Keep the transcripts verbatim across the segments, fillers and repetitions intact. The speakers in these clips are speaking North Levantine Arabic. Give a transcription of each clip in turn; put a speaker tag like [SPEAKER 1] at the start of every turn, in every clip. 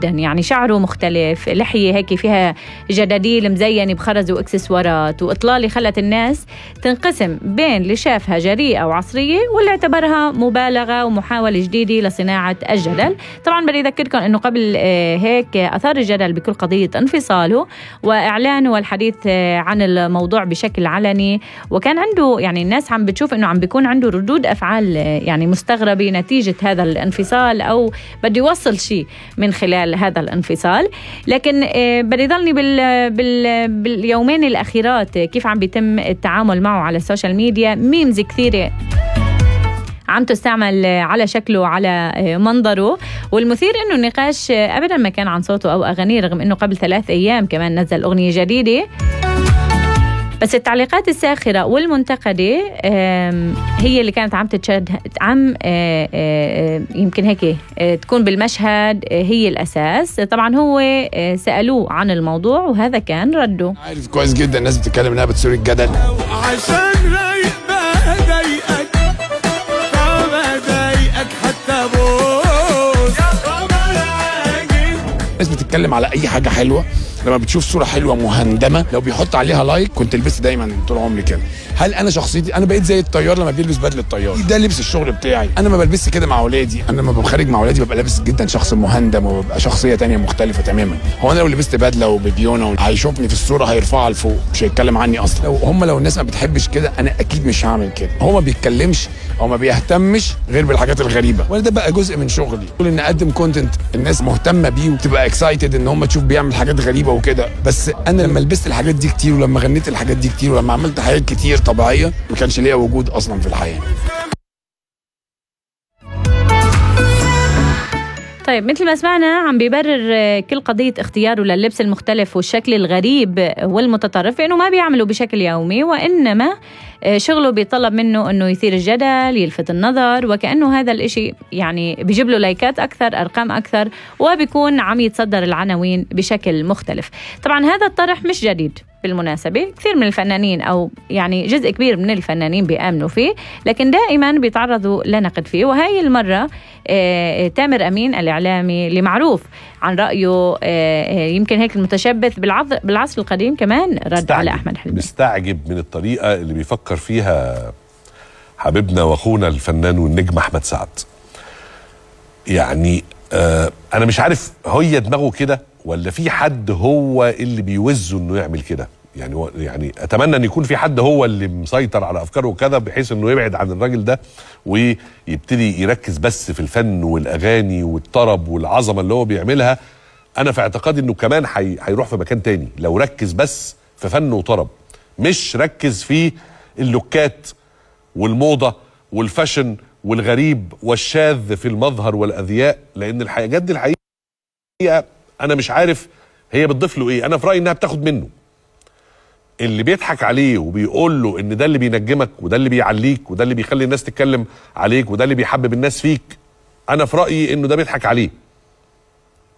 [SPEAKER 1] جدا، يعني شعره مختلف، لحية هيك فيها جداديل مزينة بخرز واكسسوارات وإطلالة، خلت الناس تنقسم بين اللي شافها جريئة وعصرية واللي اعتبرها مبالغة ومحاولة جديدة لصناعة الجدل. طبعا بدي أذكركم أنه قبل هيك أثار الجدل بكل قضية انفصاله وإعلانه والحديث عن الموضوع بشكل علني، وكان عنده يعني الناس عم بتشوف أنه عم بيكون عنده ردود أفعال يعني مستغربة نتيجة هذا الانفصال، أو بده يوصل شيء من خلال هذا الانفصال. لكن بدي ضلني بال بال باليومين الأخيرات كيف عم بيتم التعامل معه على السوشيال ميديا. ميمز كثيرة عم تستعمل على شكله وعلى منظره، والمثير انه النقاش ابدا ما كان عن صوته او اغانيه، رغم انه قبل ثلاث ايام كمان نزل اغنية جديدة. بس التعليقات الساخرة والمنتقدة هي اللي كانت عم تتشد عم يمكن هيك تكون بالمشهد هي الأساس. طبعا هو سألوه عن الموضوع وهذا كان رده.
[SPEAKER 2] عارف كويس جدا الناس بتتكلم انها بتثير الجدل
[SPEAKER 3] عشان رايق بقى ضايقك طبعا ضايقك حتى بوس
[SPEAKER 2] الناس بتتكلم على اي حاجة حلوة. لما بتشوف صورة حلوة مهندمة لو بيحط عليها لايك، كنت لبست دايما طول عمري كده. هل انا شخصيتي انا بقيت زي الطيار لما بيلبس بدله الطيار؟ ده لبس الشغل بتاعي. انا ما بلبسش كده مع اولادي، انا لما بخرج مع اولادي ببقى لابس جدا شخص مهندم وببقى شخصيه تانية مختلفه تماما. هو انا لو لبست بدله وببيونه هيشوفني في الصوره هيرفعها لفوق، مش هيتكلم عني اصلا. لو هم لو الناس ما بتحبش كده انا اكيد مش هعمل كده. هو ما بيتكلمش او ما بيهتمش غير بالحاجات الغريبه، وانا ده بقى جزء من شغلي، كل ان اقدم كونتنت الناس مهتمه بيه وتبقى اكسايتد ان هم تشوف بيعمل حاجات غريبه وكده. بس انا لما لبست الحاجات دي كتير ولما غنيت الحاجات دي كتير ولما عملت حاجات كتير طبيعيه ما كانش ليها وجود اصلا في الحياه.
[SPEAKER 1] طيب مثل ما سمعنا عم بيبرر كل قضية اختياره لللبس المختلف والشكل الغريب والمتطرف انه ما بيعمله بشكل يومي، وانما شغله بيطلب منه انه يثير الجدل، يلفت النظر، وكأنه هذا الاشي يعني بيجيب له لايكات اكثر، ارقام اكثر، وبيكون عم يتصدر العناوين بشكل مختلف. طبعا هذا الطرح مش جديد بالمناسبة، كثير من الفنانين أو يعني جزء كبير من الفنانين بيآمنوا فيه، لكن دائما بيتعرضوا لنقد فيه. وهي المرة آه تامر أمين الإعلامي اللي معروف عن رأيه آه يمكن هيك المتشبث بالعصر القديم كمان رد على أحمد حلمي.
[SPEAKER 4] مستعجب من الطريقة اللي بيفكر فيها حبيبنا وأخونا الفنان والنجم أحمد سعد. يعني آه أنا مش عارف هي دماغه كده ولا في حد هو اللي بيوزه انه يعمل كده. يعني يعني اتمنى ان يكون في حد هو اللي مسيطر على افكاره وكذا بحيث انه يبعد عن الراجل ده ويبتدي يركز بس في الفن والاغاني والطرب والعظمه اللي هو بيعملها. انا في اعتقادي انه كمان هيروح في مكان تاني لو ركز بس في فن وطرب، مش ركز في اللوكات والموضه والفاشن والغريب والشاذ في المظهر والاذياء، لان الحاجات دي الحقيقه انا مش عارف هي بتضيف له ايه. انا في رايي انها بتاخد منه. اللي بيضحك عليه وبيقول له ان ده اللي بينجمك وده اللي بيعليك وده اللي بيخلي الناس تتكلم عليك وده اللي بيحبب الناس فيك، انا في رايي انه ده بيضحك عليه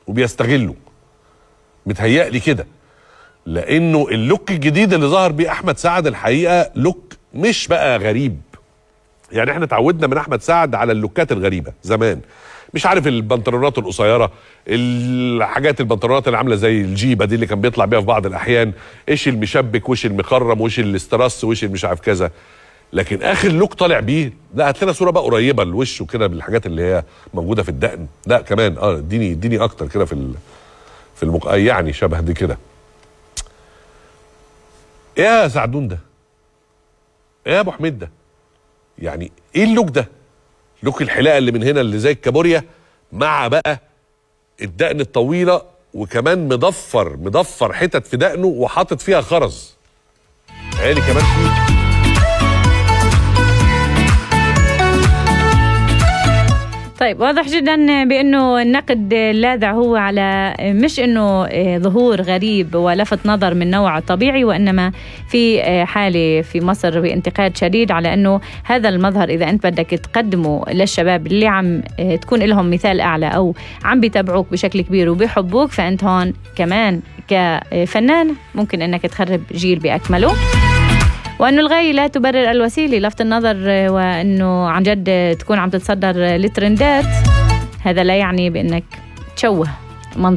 [SPEAKER 4] وبيستغله. متهيألي كده، لانه اللوك الجديد اللي ظهر بيه احمد سعد الحقيقه لوك مش بقى غريب. يعني احنا تعودنا من احمد سعد على اللوكات الغريبه زمان، مش عارف البنطلونات القصيره، الحاجات البنطلونات اللي عامله زي الجيبه دي اللي كان بيطلع بيها في بعض الاحيان، ايش المشبك وش المخرم وش الاسترس وش مش عارف كذا. لكن اخر لوك طالع بيه لا، هات لنا صوره بقى قريبه لوشه كده بالحاجات اللي هي موجوده في الدقن. لا كمان اه اديني اديني اكتر كده في في المق... يعني شبه دي كده. ايه يا سعدون ده؟ ايه يا ابو حميد ده؟ يعني ايه اللوك ده؟ لوك الحلاقه اللي من هنا اللي زي الكابوريا مع بقى الدقن الطويله، وكمان مضفر مضفر حتت في دقنه وحاطط فيها خرز عالي كمان فيه.
[SPEAKER 1] طيب واضح جدا بأنه النقد اللاذع هو على مش أنه ظهور غريب ولفت نظر من نوع طبيعي، وإنما في حالة في مصر بانتقاد شديد على أنه هذا المظهر إذا أنت بدك تقدمه للشباب اللي عم تكون لهم مثال أعلى أو عم بيتابعوك بشكل كبير وبيحبوك، فأنت هون كمان كفنان ممكن أنك تخرب جيل بأكمله. وأنه الغاية لا تبرر الوسيلة، لفت النظر وأنه عن جد تكون عم تتصدر للترندات، هذا لا يعني بأنك تشوه